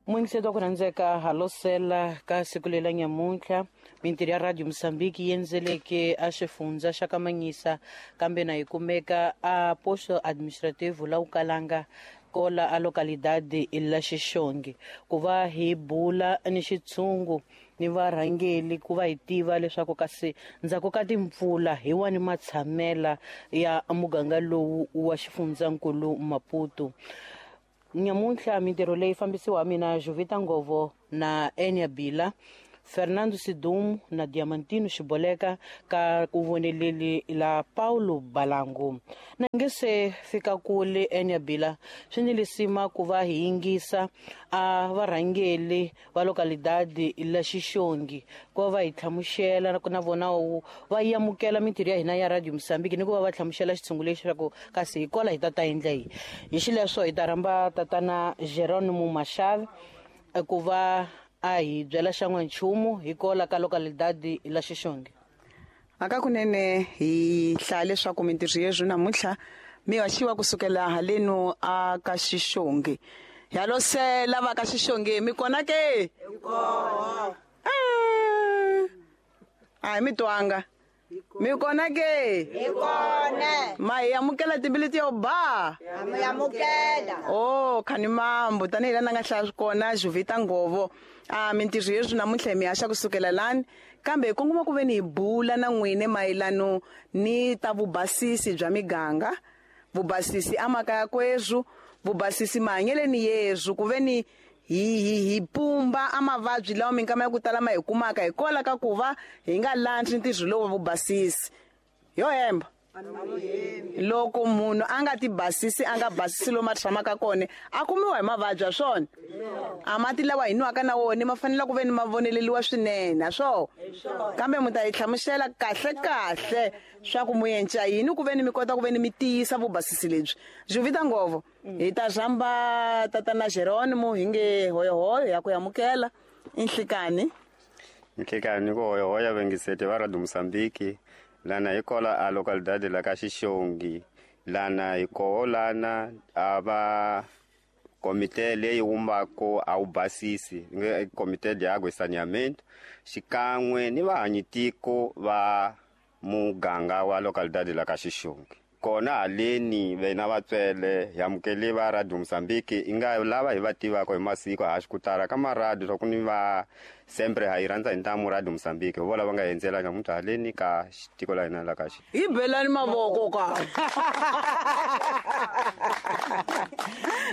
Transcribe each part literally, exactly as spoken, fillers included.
Muyingiseti wa ku rhandzeka halosela ka siku lela nyamuntlha mintirho ya Radio Mozambique yi endzeleke a xifundza xa Kamanyisa kambe na yi kumeka a posto administrativo la Ukalanga kola a localidade la Xixongi ku va hi bula ni xitshungu ni varhangeli ku va hi tiva leswaku kasi ndzhaku ka timpfula hi wani matshamela ya muganga lowu wa xifundzankulu Maputo. Nyamuntlha mintirho leyi fambisiwa mina Jovita Ngovo na Enya Bila, Fernando Sidumo na Diamantino Xiboleka ka ku voneleli la Paulo Balangu. Na nge se fika kule Enya Bila, swi ni lisima ku va hi yingisa a varhangeli va localidade la Xixongi ku va hi hlamusela na vona va amukela mintirho ya hina ya Radio Mozambique ni ku va va hlamusela xitshungu lexi leswaku kasi hi kola hi ta ta endla yi. Hi xileswo hi ta rhamba tatana Jerónimo Machado ku va a hi byela xan'wanchumu hi kola ka localidade la Xixongi. Aka kunene hi hlaya leswaku mintirho yeswi namuntlha mi haxiwa kusukela haleno a ka Xixongi. Halosela va ka Xixongi mi kona ke? Hi kona. A mi twanga. Mi kona ke? Hi kona. Ma hi amukela timbilu yo ba. Mi amukela. Oh, khani mambo tanihi la nga hlaya kona Jovita Ngovo. A mintirho yeswi namuntlha mi haxa kusukela lani kambe hi kongoma ku ve ni hi bula na n'wine mayelano ni ta vubasisi bya miganga, vubasisi amakaya kweswu, vubasisi mahanyeleni yeswu ku ve ni hi hi hi pumba a mavabyi lawa minkama ya ku tala ma hi kumaka hi kola ka ku va hi nga landzi ntirho lowu wa vubasisi. Yo hemba. Loko munhu a nga ti basisi a nga basisi lomu a tshamaka kona a kumiwa hi mavabyi a swona. A mati lawa hi nwaka na wona ma fanele ku ve ni ma voneleliwa swinene a swo. Kambe mu ta hi hlamusela kahle kahle swa ku mu yenca yini ku ve ni mi kota ku ve ni mi tiyisa vubasisi lebyi. Jovita Ngovo hi ta rhamba tatana Jerónimo hi nge hoyohoyo ya ku amukela inhlikani. Inhlikani ku hoyohoya vengisete va Radio Mozambique. Lana hi kola a localidade la ka Xixongi, lana hi koho lana a va komite leyi wumbako a wu basisi komite de água e saneamento xikan'we ni vahanyitiko va muganga wa localidade la ka Xixongi. Kona haleni vena vatswele hi amukele va Radio Mozambique i nga lava hi va tivaka hi masiku haxi ku tala ka maradiyo swa ku ni va sempre ha yi rhandza hi ntamu Radio Mozambique hi vola va nga endzela namuntlha haleni ka tiko la hina la ka xi. Hi belani mavoko ka.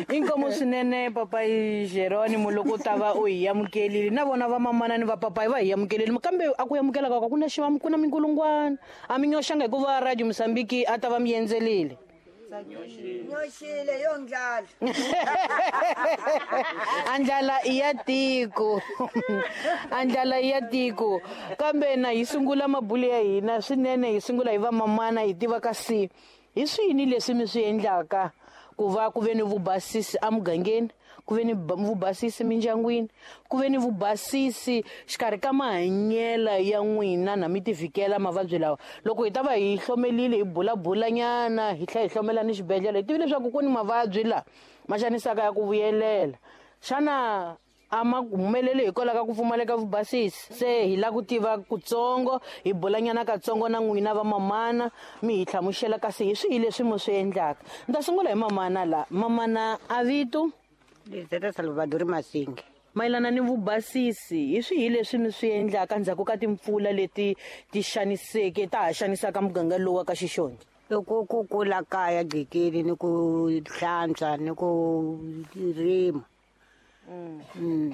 Inkomo swinene papai Jerónimo loko ta va u hi amukelile na vona va mamana ni va papai va hi amukelile kambe a ku amukela ka ku na xivamu ku na minkulungwana a mi nyoxanga hikuva Radio Mozambique a ta va mi endzelile. Nyoxile yo ndlala. Andlala i ya tiko. Andlala i ya tiko. Kambe na hi sungula mabulu ya hina swinene hi sungula hi va mamana hi tiva kasi hi swini leswi mi swi endlaka ku va ku ve ni vubasisi emugangeni, ku ve ni vubasisi mindyangwini, ku ve ni vubasisi xikarhi ka mahanyela ya n'wina na mi tivikela mavabyi lawa. Loko hi ta va hi hlomelile hi bulabulanyana hi tlhela hi hlomela ni xibedhlele hi tivile leswaku ku ni mavabyi la ma xanisaka ya ku vuyelela. Xana a ma humeleli hikwalaho ka ku pfumaleka vubasisi? Se hi lava ku tiva kutsongo hi bulanyana katsongo na n'wina va mamana mi hi hlamusela kasi hi swihi leswi mi swi endlaka. Ni ta sungula hi mamana la. Mamana a vito? Lizeta Salvador Masingi. Mayelana ni vubasisi hi swihi leswi mi swi endlaka ndzhaku ka timpfula leti ti xaniseke ta ha xanisaka muganga lowu wa ka Xixongi? Loko ku kula kaya gqikini ni ku hlantswa ni ku rima. Mm.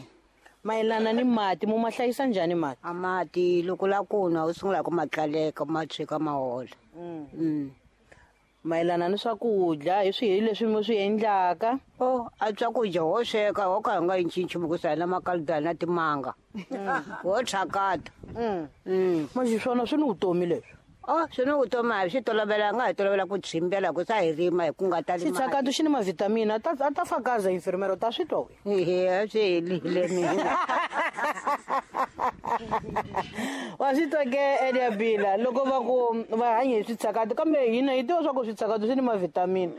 Mayelana ni mati mu ma hlayisa njhani mati? A mati loko la ku nwa u sungula ku ma tlaleka ma tshika ma hola. Mm. Mayelana ni swakudya hi swihi leswi mi swi endlaka? Oh, a swakudya ho sweka ho ka hi nga yi nchumu ku sala makaludana na timanga. Ho tshakata. Mm. Manje swona swi ni vutomi leswi. Oh, swi ni vutomi a hi swi tolovelanga hi tolovela ku tshimbela ku sa hi rima hi ku nga tali mali. Xitshakato xi ni mavhitamini a ta a ta fakaza infirmero ta swi twa we. Ehe, swi helile mina. Wa swi twa ke Elia Bila loko va ku va hanya hi switshakato kambe hina hi tiva swa ku switshakato swi ni mavhitamini.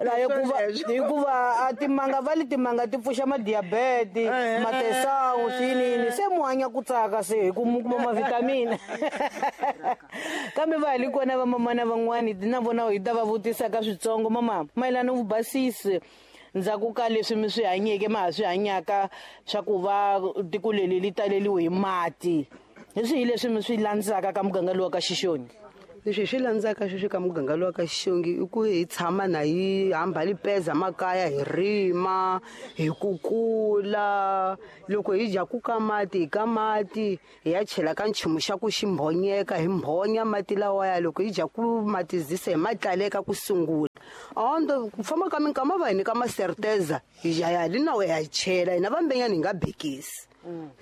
La hikuva hikuva a timanga va li timanga ti pfuxa madiabete matesawu swinini se mu hanya ku tsaka se hi ku mu kuma mavitamini kambe va hi li kona vamamana van'wani na vona hi ta va vutisa ka switsongo mama mayelana vubasisi ndzhaku ka leswi mi swi hanyeke ma ha swi hanyaka swa ku va tiko leri li taleliwe hi mati hi swihi leswi mi swi landzaka ka muganga lowa ka Xixongi leswi hi swi landzaka sweswi ka muganga lowa ka Xixongi i ku hi tshama na hi hamba lipeza makaya hi rima hi kukula loko hi dya ku ka mati hi ka mati hi ya chela ka nchumu xa ku xi mbhonyeka hi mbhonya mati lawaya loko hi dya ku matizisa hi ma tlaleka ku sungula ondo ku famba ka minkama va hi nyika maserteza hi ya ya li nawu ya chela hina vambenyani hi nga bekisi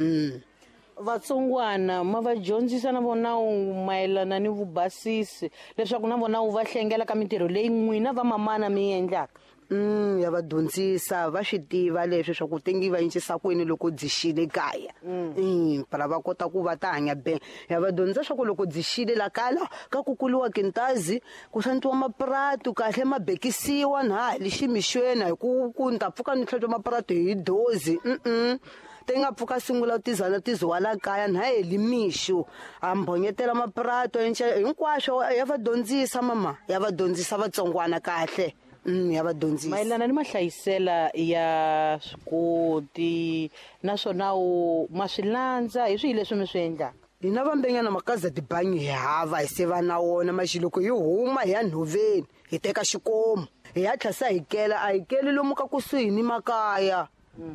mm. Vatsongwana ma va dyondzisa na vona mayelana ni vubasisi leswaku na vona wu va hlengela ka mintirho leyi n'wina va mamana mi endlaka mm ya va dyondzisa va swi tiva leswi swa ku tengi va encisa kwini loko byi xile kaya mm para va kota ku va ta hanya be ya va dyondzisa swa ku loko byi xile la kala ka kukuliwa kintazi ku hlantswiwa mapratu kahle ma bekisiwa na hi ximixweni hi ku ku ni ta pfuka ni hlantswa mapratu hi dozi mm te nga pfuka sungula tizana tiziwala kaya na heli mixo a mbhonyetela maprato hinkwaswo ya va dyondzisa mama ya va dyondzisa vatsongwana kahle mm ya va dyondzisa mayelana ni mahlayisela ya swikoti naswona u ma swi landza hi swihi leswi mi swi endlaka hina vambenyana makaza tibangi hi hava hi se va na wona maxi loko hi huma hi ya nhoveni hi teka xikomu hi ya tlhasa hi kela a hi keli lomu ka kusuhi ni makaya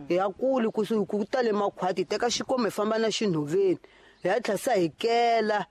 hi ya kuli kusuhi ku tale makhwati hi teka xikomu hi famba na xinhoveni hi ya tlhasa hi kela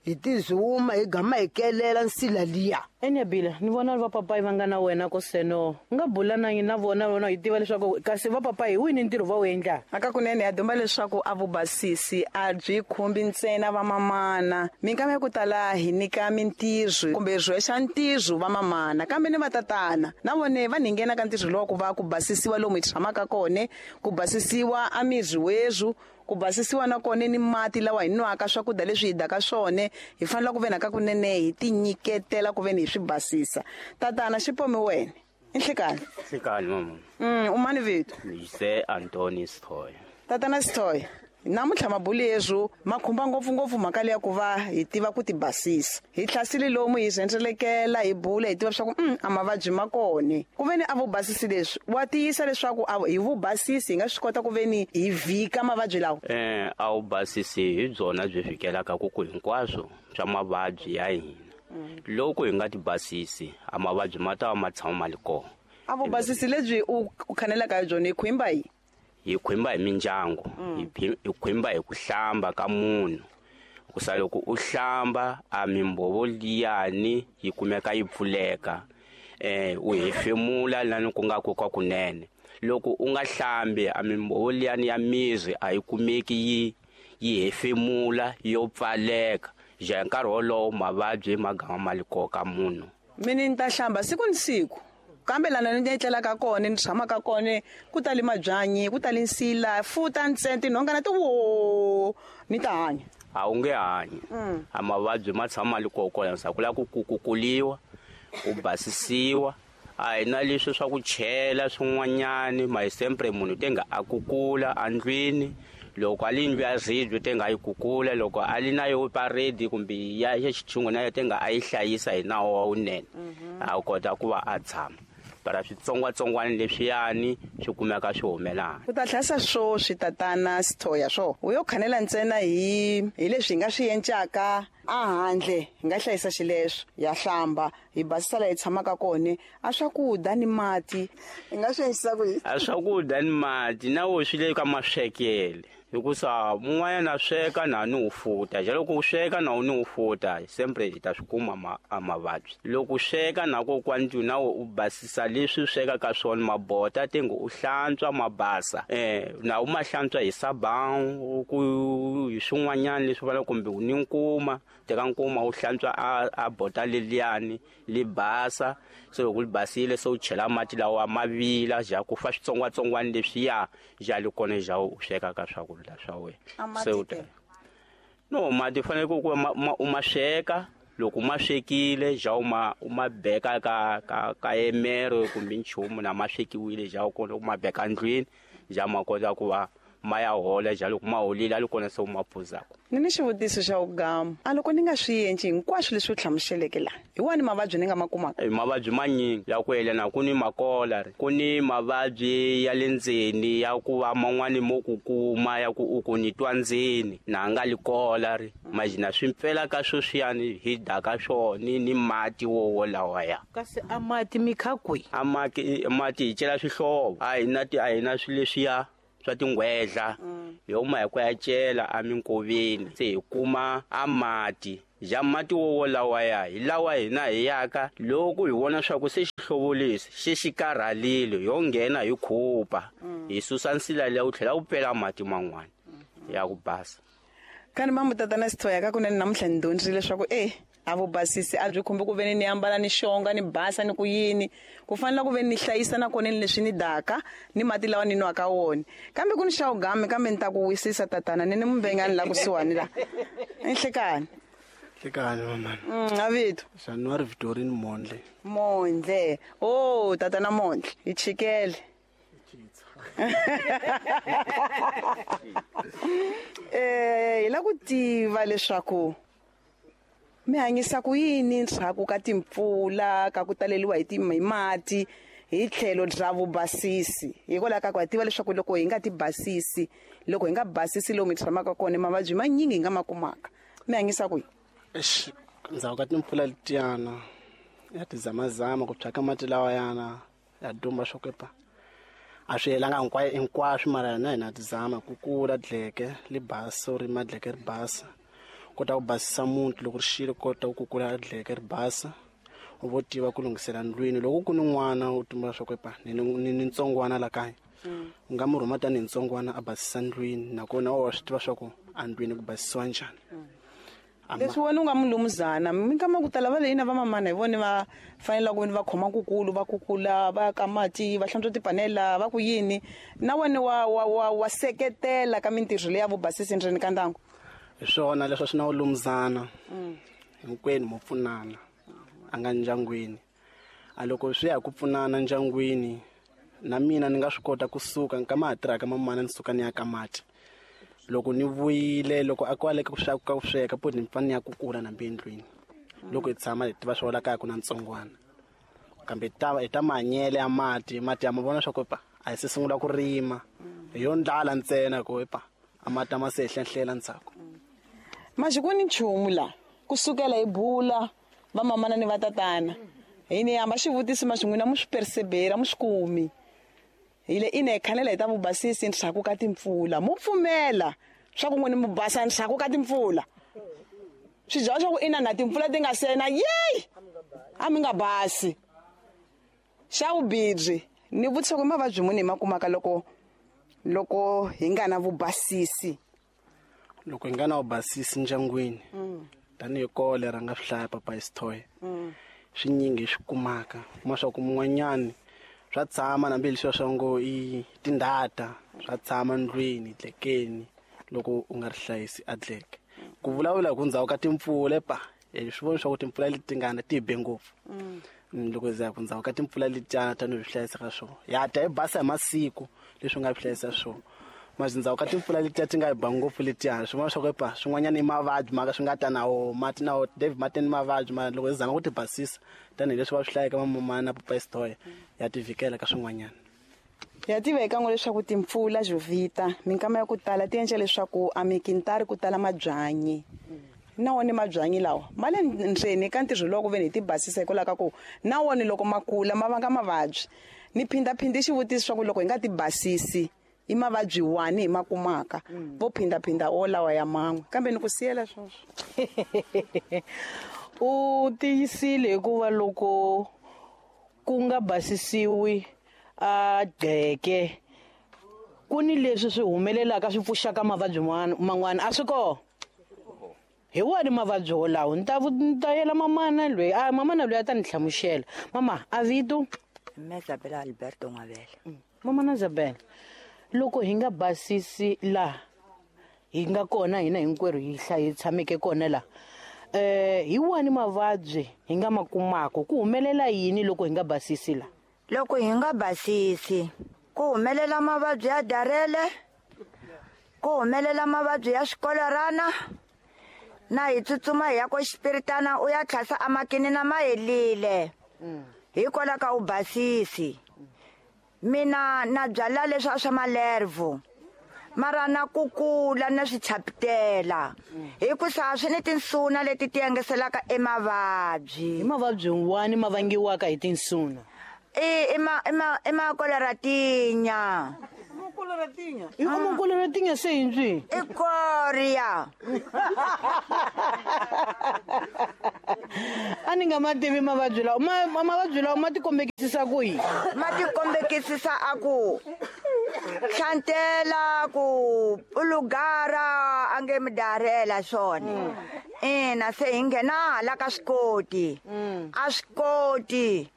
hi tizuma hi gama hi kelela nsila liya Enyabila ni vona va papayi va nga na wena ko seno nga bula na na vona vona hi tiva leswaku kasi va papayi hi wini ntirho va wu endlaka aka kunene ya dumba leswaku a vubasisi a byi khumbi ntsena va mamana minkama ya ku tala hi nyika mintirho kumbe rhwexa ntirho va mamana kambe ni vatatana na vone va ninghena ka ntirho lowa ku va ku basisiwa lomu hi tshamaka kone ku basisiwa a miri wezwu ku basisiwa na kone ni mati lawa hi nwaka swakudya leswi hi daka swone hi fanele ku ve na ka kunene hi tinyiketela ku ve ni hi swi basisa tatana xipomi wena i nhlekani nhlekani mama mm u mani vito Jose Antoni Sithoya tatana Sithoya namuntlha mabulu yezwo ma khumba ngopfungopfu mhaka leya ku va hi tiva ku ti basisa hi hlasile lomu hi rhendzelekela hi bula hi tiva leswaku mm, a mavabyi ma kone ku ve ni a vubasisi leswi wa tiyisa leswaku hi vubasisi hi nga swi kota ku ve ni hi vhika mavabyi lawa eh a vubasisi hi byona byi fikelaka ku ku hinkwaswo swa mavabyi ya hina loko hi nga ti basisi a mavabyi ma ta va ma tshama ma li kona a vubasisi lebyi u khanelaka hi byona hi khwimba yi hi khwimba hi mindyangu hi khwimba hi ku hlamba ka munhu kusa loko u hlamba a mimbhovo liyani yi kumeka yi pfuleka eh u hefemula lani ku nga ku ka kunene loko u nga hlambi a mimbhovo liyani ya miri a yi kumeki yi yi hefemula yo pfaleka ja nkarhi wolowo mavabyi ma gama ma li koka munhu mina ni ta hlamba siku ni siku kambe lana ni etlelaka kona ni tshamaka kona ku tali mabyanyi ku tali nsila futa ntsena tinhongana ti wo ni ta hanya a wu nge hanyi a mavabyi ma tshama li kona sa ku lava ku kukuliwa ku basisiwa a hi na leswi swa ku chela swin'wanyani ma hi sempre munhu te nga a kukula andlwini loko a li ndlu ya ribye te nga yi kukula loko a li na yo paredi kumbe ya xitshungu na yo te nga a yi hlayisa hi nawu wa wunene a kota ku va a tshama para switsongwatsongwana leswiyani swi kumeka swi humelana u ta hlasa swo swi tatana Sithoya swo u yo khanela ntsena hi hi leswi hi nga swi encaka a handle hi nga hlayisa xileswo ya hlamba hi basisa laha hi tshamaka kona a swakudya ni mati hi nga swi endlisa ku yini a swakudya ni mati na wo swi le ka maswekele hikusa mun'wanyana sweka na ni wu futa ja loko u sweka na u ni wu futa sempre hi ta swi kuma ma, a mavabyi loko u sweka na kokwani na u basisa leswi sweka ka swona mabota te ngo u hlantswa ma basa eh na u ma hlantswa hi sabão ku hi swin'wanyana leswi vana kumbe u ni nkuma teka nkuma u hlantswa a, a bota leliyani li basa se loko li basile se u chela mati lawa ma vila ja ku fa switsongwatsongwana leswiya ja li kona ja u sweka ka swakudya swa wena se u ta no mati fanele ku u ma sweka Loko ma swekile ja u ma u ma beka ka ka ka emero kumbe nchumu na ma swekiwile ja u kona u ma beka ndlwini ja ma kota ku va ma ya hola ja loko ma holile a li kona se u ma phuzaka. Ni ni xivutiso xa ugama a loko ni nga swi endli hinkwaswo leswi u hlamuseleke laha hi wani mavabyi ni nga ma kumaka? Mavabyi manyingi ya ku yelana ku ni makola ku ni mavabyi ya le ndzeni ya ku va man'wani mo ku kuma ya ku u ku ni twa ndzeni na nga li kola ri majina swi mpfela ka sweswiyani hi daka swona ni mati wo wolawa ya. Kasi a mati mi kha kwihi? A mati mati hi cela swihlovo a hi na ti a hi na swilo leswiya swa tingwedla hi huma hi ku ya cela eminkoveni se hi kuma a mati ja mati wo wolawa ya hi lawa hina hi yaka loko hi vona swa ku se xihlovo lexi xi xi karhalile yo nghena hi khupa hi susa nsila leyi wu tlhela wu pela mati man'wana ya ku basa. Kani mamu tatana Sithoya ka kunene namuntlha ni dyondzile leswaku e a vubasisi a byi khumbi ku veni ni ambala ni xonga ni basa ni ku yini ku fanele ku veni ni hlayisa na kona ni leswi ni daka ni mati lawa ni nwaka wona kambe ku ni xa ugame kambe ni ta ku wisisa tatana ni ni muvengani la kusuhani la enhlekani. Hlekani mamana. Mm avito. January Victorine Mondle. Mondle. Oh tatana Mondle hi chikele. Eh hi la ku tiva leswaku mi hanyisa ku yini ndzhaku ka timpfula ka ku taleliwa hi hi mati hi tlhelo bya vubasisi hikwalaho ka ku ha tiva leswaku loko hi nga ti basisi loko hi nga basisi lomu hi tshamaka kona mavabyi manyingi hi nga ma kumaka mi hanyisa ku yini? Eish ndzhaku ka timpfula letiyana ya tizamazama ku thyaka mati lawa yana ya dumba swo kepa a swi helanga hinkwayo hinkwaswo mara hina hina tizama ku kula dleke li basa ri madleke ri basa kota ku basisa muti loko ri xile kota ku kukula dleke ri basa u vo tiva ku lunghisela ndlwini loko ku ni n'wana u tumbula swa ku epa ni ni ni ntsongwana la kaya u nga mu rhuma tanihi ntsongwana a basisa ndlwini nakona wa swi tiva swa ku andlwini ku basisiwa njhani. Leswi wena u nga mulumuzana minkama ku tala va leyi na vamamana hi vona va fanele ku va khoma kukulu va kukula va ka mati va hlantswa tipanela va ku yini na wena wa wa wa wa seketela ka mintirho leyi ya vubasisi ndzeni ka ndyangu? Hi swona leswi swi na vulumuzana hinkwenu mo pfunana a nga ndyangwini a loko swi ya hi ku pfunana ndyangwini na mina ni nga swi kota kusuka nkama ha tirhaka mamana ni suka ni ya ka mati loko ni vuyile loko a kwale ka ku sweka ka ku sweka po ni pfana ni ya kukula nambe endlwini loko hi tshama hi tiva swa la kaya ku na ntsongwana kambe ta hi ta mahanyele ya mati mati ya ma vona swa ku pa a hi se sungula ku rima hi yo ndlala ntsena ku pa a mati ma se hlenhlela ndzhaku. Manje ku ni nchumu la kusukela hi bula vamamana ni vatatana hi ni hamba xivutiso ma xin'wina mu swi persevera mu swi kumi hi le ine hi khanela hi ta vubasisi ndzhaku ka timpfula mu pfumela swa ku n'wini mu basa ndzhaku ka timpfula swi byela swa ku ina na timpfula ti nga sena yeyi a mi nga basi. Xa vubirhi ni vutisa ku mavabyi muni hi ma kumaka loko loko hi nga na vubasisi? Loko hi nga na vubasisi ndyangwini tanihi kole ra nga swi hlaya papa Sithoya swinyingi hi swi kumaka kuma swa ku mun'wanyani swa tshama nambi leswiya swa ngo i tindhata swa tshama ndlwini dlekeni loko u nga ri hlayisi a dleke ku vulavula hi ku ndzhaku ka timpfula pa hi swi vona swa ku timpfula leti ngana ti be ngopfu loko hi za ku ndzhaku ka timpfula letiyana tanihi swi hlayisa ka swona ya ta hi basa hi masiku leswi u nga swi hlayisa swona manje ndzhaku ka timpfula letiya ti nga hi ba ngopfu letiya swi vona swa ku epa swin'wanyana i mavabyi maka swi nga ta na wo mati na wo David mati ni mavabyi mara loko hi zama ku ti basisa tanihileswi va swi hlayaka vamamana na papa Sithoya ya ti vhikela ka swin'wanyana. Ya tiva hi kan'we leswaku timpfula Jovita minkama ya ku tala ti endla leswaku a mikintari ku tala mabyanyi na wona mabyanyi lawa ma le ndzeni ka ntirho lowu ku veni hi ti basisa hikwalaho ka ku na wona loko ma kula ma vanga mavabyi ni phindhaphindhi xivutiso swa ku loko hi nga ti basisi i mavabyi wani hi ma kumaka vo phindaphinda o lawa ya man'we kambe ni ku siyela sweswo. U tiyisile hikuva loko ku nga basisiwi a gqeke ku ni leswi swi humelelaka swi pfuxaka mavabyi man'wana a swi kona hi wani mavabyi wolawo ni ta ni ta yela mamana loyi a mamana loyi a ta ni hlamusela. Mama a vito Mme Isabella Alberto Ngwabela. Mamana Isabella loko hi nga basisi laha hi nga kona hina hinkwerhu hi hlayi tshameke kona laha Eh hi wani mavabyi hi nga ma kumaka ku humelela yini loko hi nga basisi la? Loko hi nga basisi ku humelela mavabyi ya darele, ku humelela mavabyi ya swikolerana, na hi tsutsuma hi ya ko xipiritana u ya tlhasa amakini na mahelile hikwalaho ka u basisi. Mina na byala leswi swa malervo mara na kukula na swichapitela hikusa swi ni tinsuna leti ti yengeselaka emavabyi. Hi mavabyi wani ma vangiwaka hi tinsuna? I ma ma i makoleratinya. Makoleratinya? I makoleratinya se yinjwi? I koria. A ni nga ma tivi mavabyi lawa. Ma mavabyi lawa ma tikombekisisa ku yini? Ma tikombekisisa a ku hlantela, ku ulugara ange midarela swona. Ina se hi nghena hala ka swikoti. A swikoti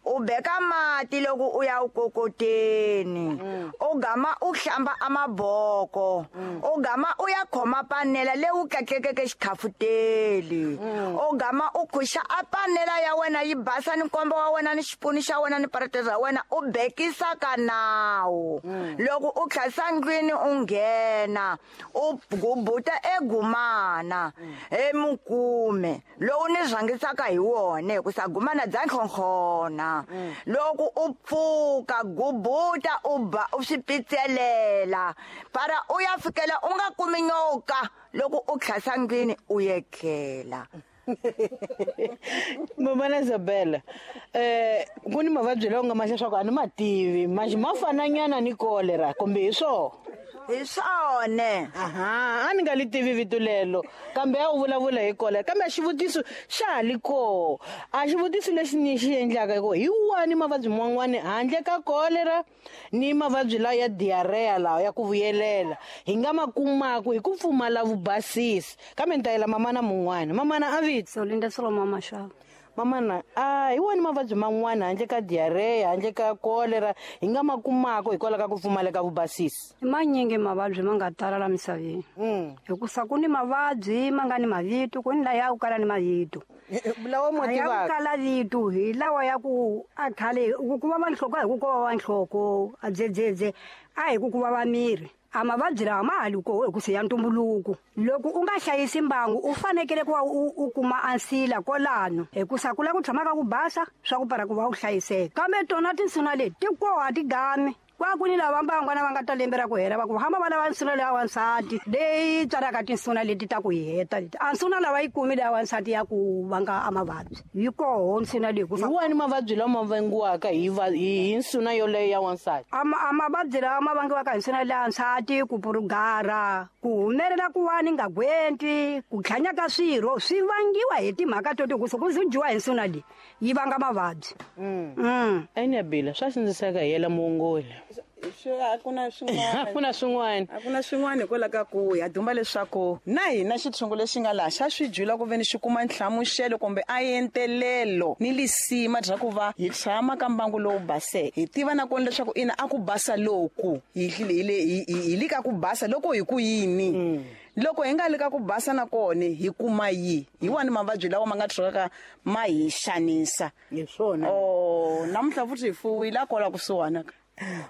u beka mati loko u ya u kokoteni, u gama u hlamba amaboko, u gama u ya khoma panela leyi u tlatlekeke xikhafuteli, u gama u khuxa a panela ya wena yi basa ni nkombo wa wena ni xipunu xa wena ni parete ra wena u bekisa ka nawu. Loko u tlhasa ndlwini u nghena u gubuta egumana emukume lowu ni rhangisaka hi wona hikusa gumana bya nhlonhlona. Loko u pfuka gubuta u ba u swi pitselela para u ya fikela u nga kumi nyoka loko u tlhasa ndlwini u yekela. Mamana Isabella, eh ku ni mavabyi lawa nga ma leswaku a ni ma tivi manje ma fananyana ni kolera kumbe hi swona? Hi swona. Aha, a ni nga li tivi vito lelo kambe a wu vulavula hi kolera. Kambe a xivutiso xa ha li koho, a xivutiso lexi ni xi endlaka hi ku hi wani mavabyi man'wani handle ka kolera ni mavabyi lawa ya diarrhea lawa ya ku vuyelela hi nga ma kumaka hi ku pfumala vubasisi. Kambe ni ta yela mamana mun'wana. Mamana a vito? Solinda Solomon Mashava. Mamana, a hi wani mavabyi man'wana handle ka diarrhea handle ka kolera hi nga ma kumaka hikwalaho ka ku pfumaleka vubasisi? I manyingi mavabyi ma nga tala la misaveni. Hikusa ku ni mavabyi ma nga ni mavito, ku ni laya ku kala ni mavito. Lawa mo tivaka? Ya ku kala vito hi lawa ya ku a khale ku ku vava nhloko a hi ku ku vava nhloko a dzedzedze a hi ku ku vava miri. A mavabyi lawa ma ha li koho hikusa ya ntumbuluko. Loko u nga hlayisi mbangu u fanekele ku va u u kuma ansila kwalano hikusa ku lava ku tshama ka ku basa swa ku para ku va u hlayiseka. Kambe tona tinsuna leti ti koho a ti gami. Kwa ku ni lava mbangwana va nga ta lembe ra ku hela va ku hamba va lava nsuna leya wansati leyi tswalaka tinsuna leti ta ku hi heta leti. A nsuna lava yi kumi leya wansati ya ku vanga a mavabyi yi koho nsuna leyi. Hi wani mavabyi lama vangiwaka hi hi nsuna yoleyo ya wansati? A a mavabyi lawa ma vangiwaka hi nsuna leya wansati, ku purugara, ku humelela ku wani nga gwenti, ku tlhanya ka swirho swi vangiwa hi timhaka to ti ku ku dyiwa hi nsuna leyi yi vanga mavabyi. Mm. Enabila swa sindziseka hi yela muongoli. Swi a ku na swin'wana. A ku na swin'wana. A ku na swin'wana hikwalaho ka ku ya dumba leswaku na hina xitshungu lexi nga laha xa swi dyula ku veni xi kuma nhlamuselo kumbe a entelelo ni lisima bya ku va hi tshama ka mbangu lowu baseke. Hi tiva na kona leswaku ina a ku basa loku hi hi hi le ka ku basa loko hi ku yini. Loko hi nga le ka ku basa na kona hi kuma yi hi wani mavabyi lawa ma nga tshukaka ma hi xanisa. Hi swona. Oh, namuntlha futhi hi fuwile a kwala kusuhana ka.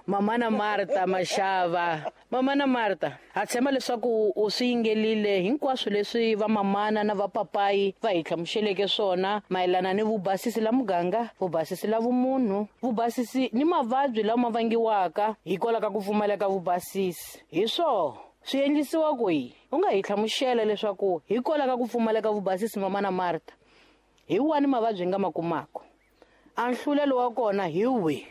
Mamana Martha Mashava. Mamana Martha, ha tshemba leswaku u swi yingelile hinkwaswo leswi vamamana na vapapayi va hi hlamuseleke swona mayelana ni vubasisi la muganga, vubasisi la vumunhu, vubasisi ni mavabyi lama vangiwaka hikwalaho ka ku pfumaleka vubasisi. Hi swona swi endlisiwa kwihi? U nga hi hlamusela leswaku hikwalaho ka ku pfumaleka vubasisi Mamana Martha, hi wani mavabyi hi nga ma kumaka? A nhlulelo wa kona hi wihi?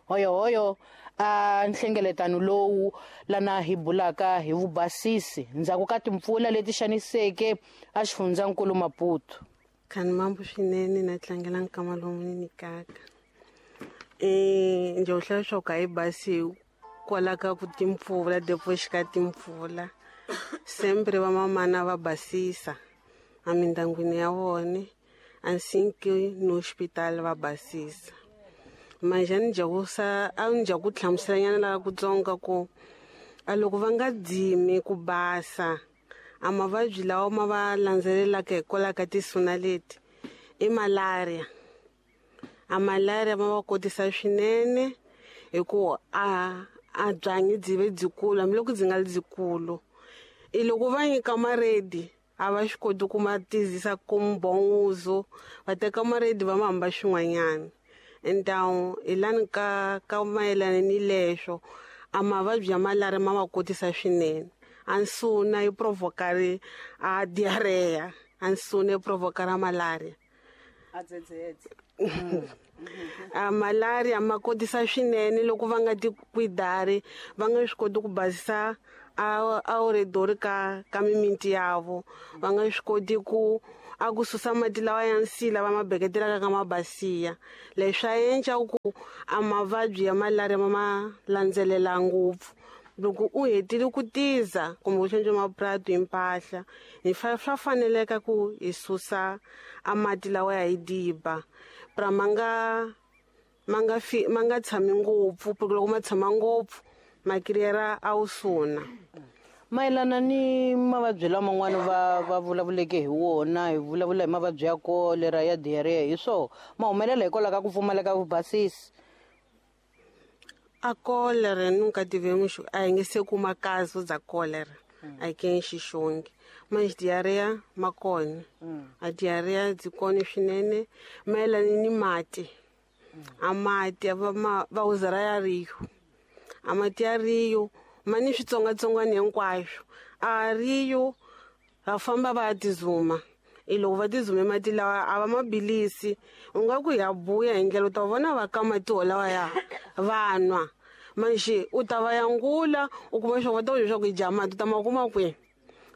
Hoyo hoyo a nhlengeletano lowu lana hi bulaka hi vubasisi ndzhaku ka timpfula leti xaniseke a xifundzankulu Maputo. Khani mambo swinene na tlangela nkama lowu ni nyikaka. Eh nje hlaya swo ka hi basi kwala ka ku timpfula depois ka timpfula sempre va mamana va basisa a mindangwini ya vona assim que no hospital va basisa. Manje ni jakusa a ni jaku hlamuselanyana la kutsonga ku a loko va nga dzimi ku basa A mavabyi lawa ma va landzelelaka hikwalaho ka tisuna leti i malaria. A malaria ma va kotisa swinene hi ku a a byanyi byi ve byikulu hambiloko byi nga ri byikulu. I loko va nyika maredi a va swi koti ku ma tizisa como bom uso, va teka maredi va ma hamba xin'wanyana. Então hi lani ka ka mayelana ni leswo a mavabyi ya malaria ma va kotisa swinene. A nsuna yi provoca a diarrhea, a nsuna yi provoca ra malaria. A dzedzedze. A malaria ma kotisa swinene loko va nga ti kwidari, va nga swi koti ku basisa a a oredori ka ka mimiti yavo, va nga swi koti ku a ku susa mati lawa ya nsila va ma beketelaka ka mabasiya. Leswi swa endla ku a mavabyi ya malaria ma ma landzelela ngopfu. Loko u hetile ku tiza kumbe u hlantswa mapurasi hi mpahla, hi fa swa faneleka ku hi susa a mati lawa ya hi diba pra ma nga ma nga fi ma nga tshami ngopfu, porque loko ma tshama ngopfu ma kiriyera a wu suna. Mayelana ni mavabyi laman'wana va va vulavuleke hi wona, hi vulavula hi mavabyi ya kolera, ya diarrhea, hi swoho ma humelela hikwalaho ka ku pfumaleka vubasisi. A cólera nunca tivemos, a hi nge se kuma caso za cólera aqui em Xixonge, mas diarreia ma kona. A diarreia byi kona swinene mayelana ni mati. A mati va ma va uzara ya Rio. A mati ya Rio ma ni switsongwatsongwana hinkwaswo. A Rio va famba va ya tizuma. I loko va tizume mati lawa a va ma bilisi, u nga ku ya buya hi ndlela u ta vona va ka mati wolawa ya va nwa. Manjhe u ta va yangula u kuma leswaku va ta ku leswaku i dya mati u ta ma kuma kwihi.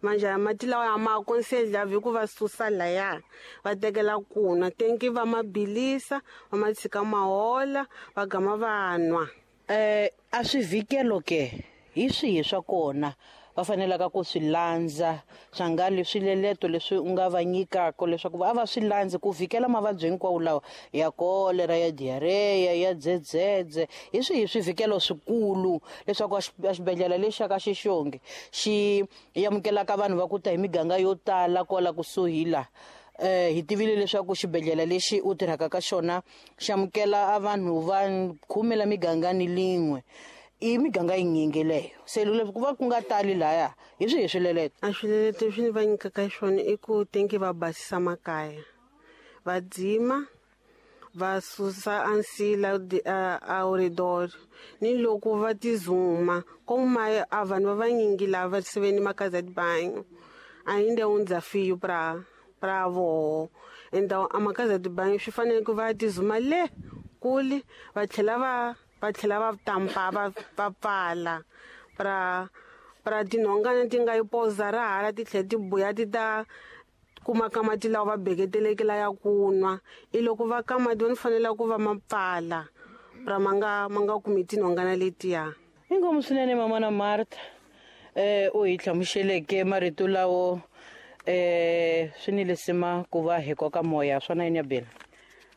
Manjhe ya mati lawa ya ma aconselhavi ku va susa laya va tekela ku nwa, tenki va ma bilisa va ma tshika ma hola va gama va nwa. Eh a swivikelo ke hi swihi swa kona va fanelaka ku swi landza, swa nga leswi leleto leswi u nga va nyikaka leswaku va va swi landzi ku vhikela mavabyi hinkwawo lawa ya kolera, ya diarrhea, ya dzedzedze, hi swihi swivikelo swikulu leswaku a xibedhlele lexi xa ka Xixonge xi amukelaka vanhu va ku ta hi miganga yo tala kwala kusuhi la. Eh hi tivile leswaku xibedhlele lexi u tirhaka ka xona xi amukela a vanhu va khume la migangani lin'we. I miganga yinyingi leyo se loko ku va ku nga tali laya hi swihi swileleto? A swileleto leswi ni va nyikaka swona i ku tenki va basisa makaya, va dzima, va susa a nsila a oredor, ni loko va tizuma como ma a vanhu va vanyingi lava se ve ni makaza de banho ainda é um desafio para para voho. Então a makaza de banho swi fanele ku va tizuma le kule va tlhela va va tlhela va tampa va va pfala pra pra tinhongana ti nga yi poza ra hala ti tlhela ti buya ti ta kuma ka mati lawa va beketeleke la ya ku nwa. I loko va ka mati va fanele ku va ma pfala pra ma nga ma nga kumi tinhongana letiya. Inkomu swinene mamana Martha, eh u hi hlamuseleke marito lawo eh swi ni lesima ku va hi koka moya swona yini ya bela.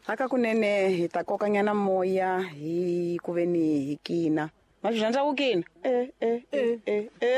Aka kunene hi ta kokanyana moya hi ku ve ni hi kina. Ma swi rhandza ku kina? Eh eh eh eh eh.